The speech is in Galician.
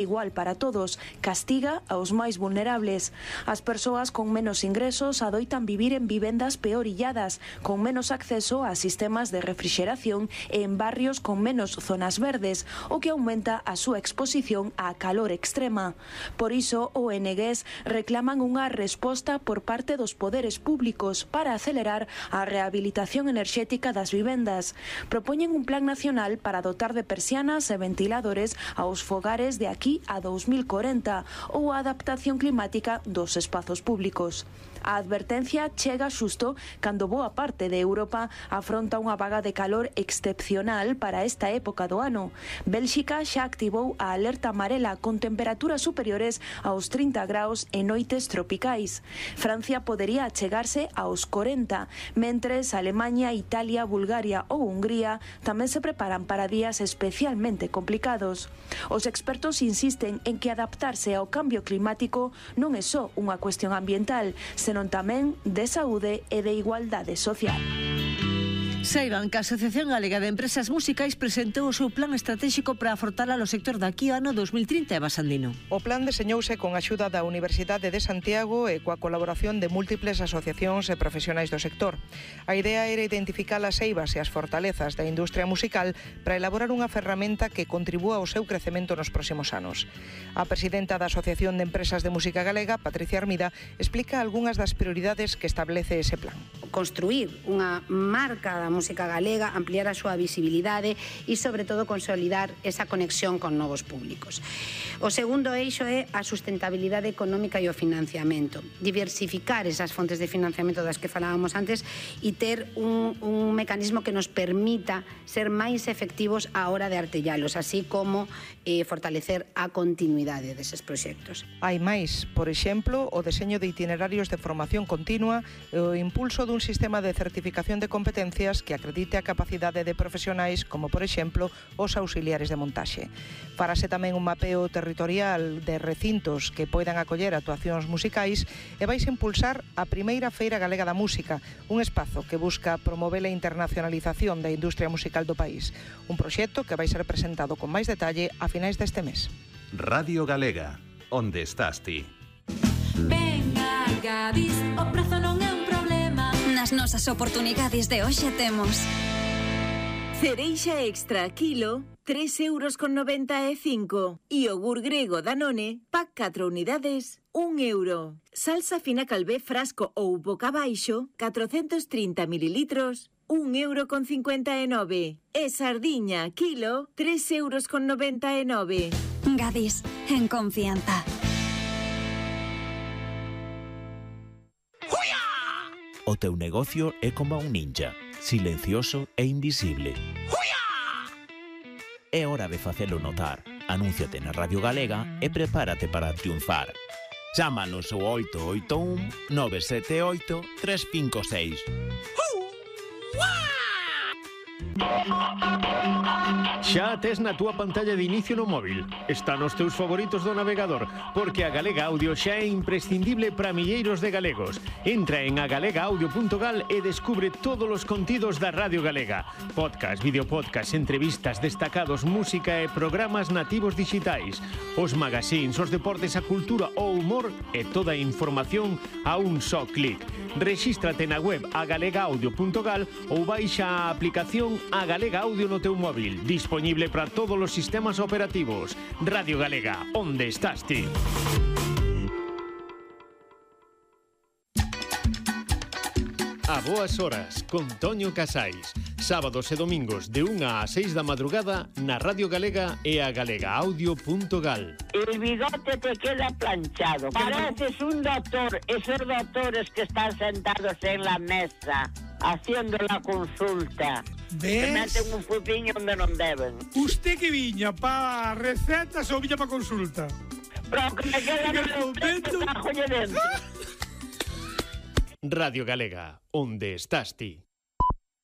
igual para todos, castiga aos máis vulnerables. As persoas con menos ingresos adoitan vivir en vivendas peorilladas, con menos acceso a sistemas de refrixeración e en barrios con menos zonas verdes, o que aumenta a súa exposición á calor extrema. Por iso, ONGs reclaman unha resposta por parte dos poderes públicos para acelerar a rehabilitación enerxética das vivendas. Propoñen un plan nacional para dotar de persianas e ventiladores aos fogares de aquí a 2040 ou a adaptación climática dos espazos públicos. A advertencia chega xusto cando boa parte de Europa afronta unha vaga de calor excepcional para esta época do ano. Bélxica xa activou a alerta amarela con temperaturas superiores aos 30 graus en noites tropicais. Francia podería achegarse aos 40, mentres Alemaña, Italia, Bulgaria ou Hungría tamén se preparan para días especialmente complicados. Os expertos insisten en que adaptarse ao cambio climático non é só unha cuestión ambiental, senón tamén de saúde e de igualdade social. Saiban que a Asociación Galega de Empresas Musicais presentou o seu plan estratégico para afrontar o sector daqui ao ano 2030 e Basandino. O plan deseñouse con a axuda da Universidade de Santiago e coa colaboración de múltiples asociacións e profesionais do sector. A idea era identificar as eivas e as fortalezas da industria musical para elaborar unha ferramenta que contribúa ao seu crecemento nos próximos anos. A presidenta da Asociación de Empresas de Música Galega, Patricia Armida, explica algunhas das prioridades que establece ese plan. Construir unha marca da música galega, ampliar a súa visibilidade e, sobre todo, consolidar esa conexión con novos públicos. O segundo eixo é a sustentabilidade económica e o financiamento. Diversificar esas fontes de financiamento das que falábamos antes e ter un mecanismo que nos permita ser máis efectivos á hora de artellalos, así como fortalecer a continuidade deses proxectos. Hai máis, por exemplo, o deseño de itinerarios de formación continua e o impulso dun sistema de certificación de competencias que acredite a capacidade de profesionais como, por exemplo, os auxiliares de montaxe. Farase tamén un mapeo territorial de recintos que poidan acoller actuacións musicais e vais impulsar a primeira Feira Galega da Música, un espazo que busca promover a internacionalización da industria musical do país. Un proxecto que vai ser presentado con máis detalle a finais deste mes. Radio Galega, onde estás ti? Venga, Gadis, o prezo non é un problema. Nas nosas oportunidades de hoxe temos cereixa extra kilo, 3,95 €. Iogur grego Danone, pack 4 unidades, 1 €. Salsa fina calvé frasco ou boca baixo, 430 mililitros, 1,59 €. E sardiña kilo, 3,99 €. Gadis, en confianza. O teu negocio é como un ninja, silencioso e invisible. É hora de facelo notar. Anúnciate na Radio Galega e prepárate para triunfar. Chámanos ao 881 978 356. Xa tes na túa pantalla de inicio no móvil. Está nos teus favoritos do navegador, porque a Galega Audio xa é imprescindible para milleiros de galegos. Entra en agalegaudio.gal e descubre todos os contidos da Radio Galega. Podcast, videopodcast, entrevistas, destacados, música e programas nativos digitais. Os magazines, os deportes, a cultura, o humor e toda a información a un só clic. Rexístrate na web agalegaudio.gal ou baixa a aplicación A Galega Audio no teu móvil, disponible para todos os sistemas operativos. Radio Galega, onde estás ti? A boas horas, con Toño Casais. Sábados e domingos de 1 a 6 da madrugada na Radio Galega e a galegaaudio.gal. El bigote te queda planchado. Pareces un doctor, esos doctores que están sentados en la mesa haciendo la consulta. ¿Ves? Que meten un pupiño donde non deben. Usted que viña pa recetas ou viña pa consulta? Pero que me queda no dentro. Radio Galega, onde estás ti?